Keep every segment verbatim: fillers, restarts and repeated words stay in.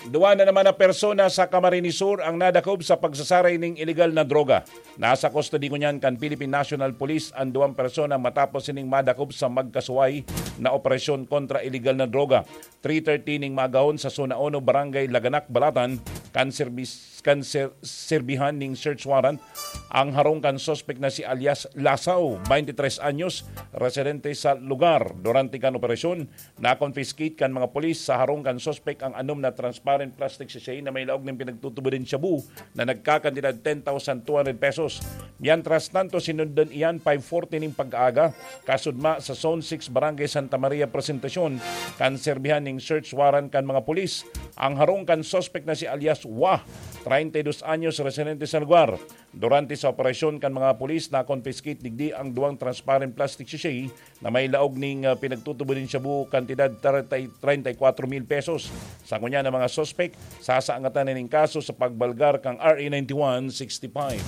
Duwa na naman na persona sa Camarines Sur ang nadakop sa pagsasaray ning iligal na droga. Nasa kustodiya ngunyan kan Philippine National Police ang duwang persona matapos sining madakop sa magkasuway na operasyon kontra iligal na droga. Three thirty ning maagahon sa Zona Uno, Barangay Laganak, Balatan, kan serbis-, kan ser-, serbihan ning search warrant ang harong kan suspek na si alias Lasaw, twenty-three anyos, residente sa lugar. Durante kan operasyon, na-confiscate kan mga pulis sa harong kan suspek ang anom na transparent plastic sachet na may laog ning pinagtutubod nin shabu na nagkakantidad ten thousand two hundred pesos. Mientras tanto, sinundan iyan five forty ning pag-aaga, kasudma sa Zone six Barangay Santa Maria Presentacion, kan serbihan ning search warrant kan mga pulis. Ang harong kan suspek na si alias Wah, treinta y dos anyos, residente sa lugar. Durante sa operasyon kan mga pulis, na-confiscate digdi ang duwang transparent plastic sachet na may laog ning, ah, pinagtutubod nin shabu, kantidad treinta, treinta y cuatro mil pesos. Sa ngunyan, ang mga suspek sasaangatan na ning kaso sa pagbalgar kan R A ninety-one sixty-five.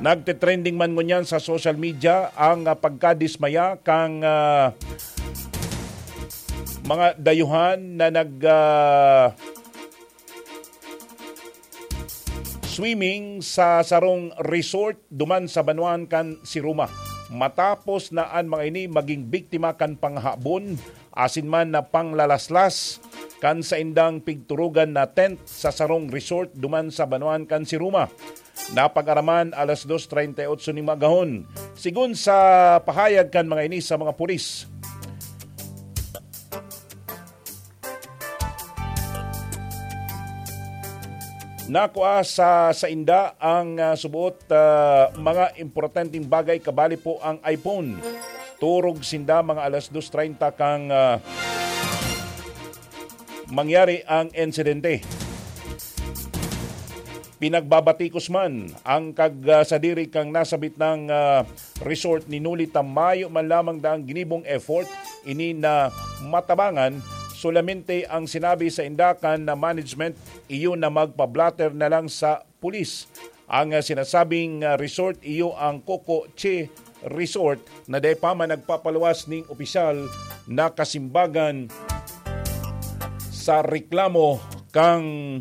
Nagte-trending man ngunyan sa social media ang, ah, pagkadismaya kan, ah, mga dayuhan na nag, ah, swimming sa sarong resort duman sa banwaan kan Siruma. Matapos na an mga ini maging biktima kan panghahabon asin man na panglalaslas kan saindang pigturugan na tent sa sarong resort duman sa banwaan kan Siruma. Napag-araman alas dos treinta y ocho ning maagahon. Sigon sa pahayag kan mga ini sa mga pulis, nakua sa sainda ang, ah, subuot, ah, mga importanteng bagay, kabali po ang iPhone. Turog sinda mga alas dos treinta kan, ah, mangyari ang insidente. Pinagbabatikos man ang kag, ah, sadiri kan nasabit na, ah, resort ni Noli ta mayo man lamang daang ginibong effort ini na matabangan. Solamente ang sinabi sainda kan management iyo na magpa-blotter na lang sa pulis. Ang, ah, sinasabing, ah, resort iyo ang Coco Che Resort na dai pa man nagpapaluwas ning opisyal na kasimbagan sa reklamo kan